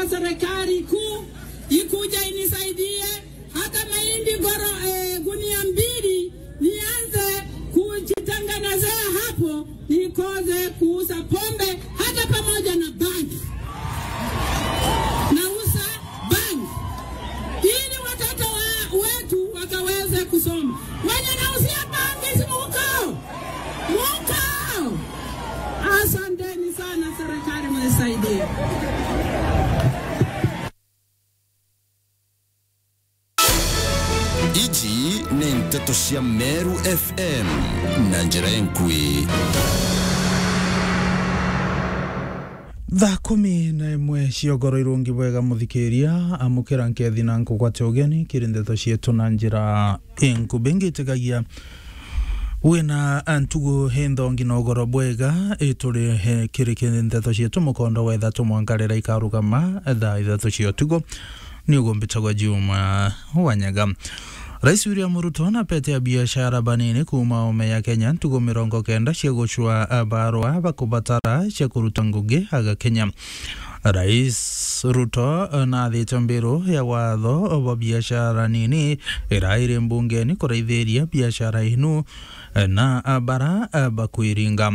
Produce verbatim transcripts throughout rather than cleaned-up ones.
serikali kuu ikuja inisaidie hata mahindi goro-, eh, gunia mbili, nianze kujitengenezea hapo, nikose kuuza pombe hata pamoja na bangi. Nauza bangi ili watoto wa-, wetu wakaweze kusoma. Wenye nauzia bangi, si muko? Muko? Asanteni sana, serikali mnisaidie. Iji ni nteto cia Meru F M na njira enkui. Thaa kumi na imwe cia ugoro irungi bwega, muthikiria, amukira nkethi na nkugwate ugeni kiri nteto cietu na njira enkubi. Ngitikagia wina ntugu inthongi na ugoro bwega, ituri he kiri ki nteto cietu mukondo wa ithatu mwanka riria ikarugama thaa ithatu cia utuku. Ni ugumbitagwa Juma Wanyaga. Rais William Ruto na pete ya biashara banini kuuma ome ya Kenya ntugu mirongo kenda cia gucua barua bakubatara cia kuruta ngugi aga Kenya. Rais Ruto nathite mbiru ya watho bwa biashara nini irairi mbungeni kuraithiria biashara inu na bara bakwiringa.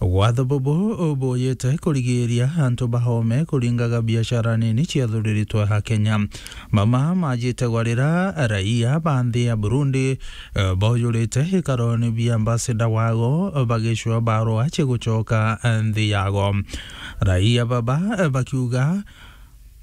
Watho bubu buyite kurigiria antu bahome kuringaga biashara nini ciathuriritwe ha Kenya. Mama majite gwarira raia ba nthi ya Burundi, eh, baujurite ikaroni bia ambassador wago bagicua barua cia gucoka, eh, nthi yago. Raia baba, eh, bakiuga,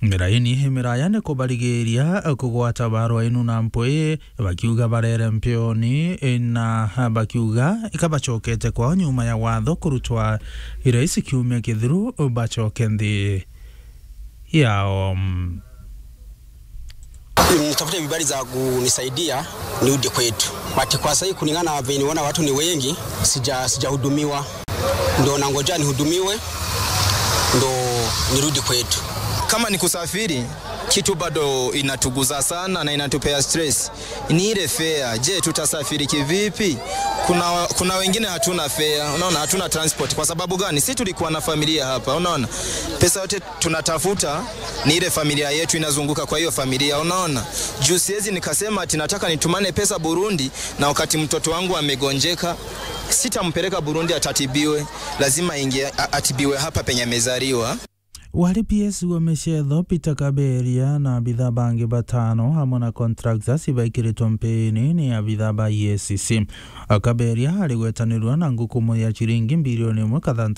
miraini imiraya ni kubarigiria, eh, kugwata barua inu na mpwi, bakiuga barere mpioni, eh, na, eh, bakiuga ikabacokete kwao nyuma ya watho kurutwa irais kiumia kithiru, eh, bacoke nthi yao. Nitafute vibali za kunisaidia nirudi kwetu. But kwa sasa kulingana na venye niona watu ni wengi, sija-, sijahudumiwa. Ndo nangoja nihudumiwe, ndo nirudi kwetu. Kama ni kusafiri, kitu bado inatuguza sana na inatupea stress. Ni ile fare. Je, tutasafiri kivipi? Kuna, kuna wengine hatuna fare, unaona, hatuna transport. Kwa sababu gani? Si tulikuwa na familia hapa, unaona. Pesa yote tunatafuta ni ile familia yetu inazunguka kwa hiyo familia, unaona. Juu siwezi nikasema ati nataka nitumane pesa Burundi, na wakati mtoto wangu amegonjeka, sitampeleka Burundi atatibiwe, lazima ingie, a-, atibiwe hapa penye amezaliwa. Wari P S wa Micetho, Peter Kaberia, na abitha bangi batano, hamwe na contractors, ibaikiritwe mpini ni abitha ba E A C C. Kaberia arigwetanirwa na ngukumo ya ciringi mbilioni imwe kathanta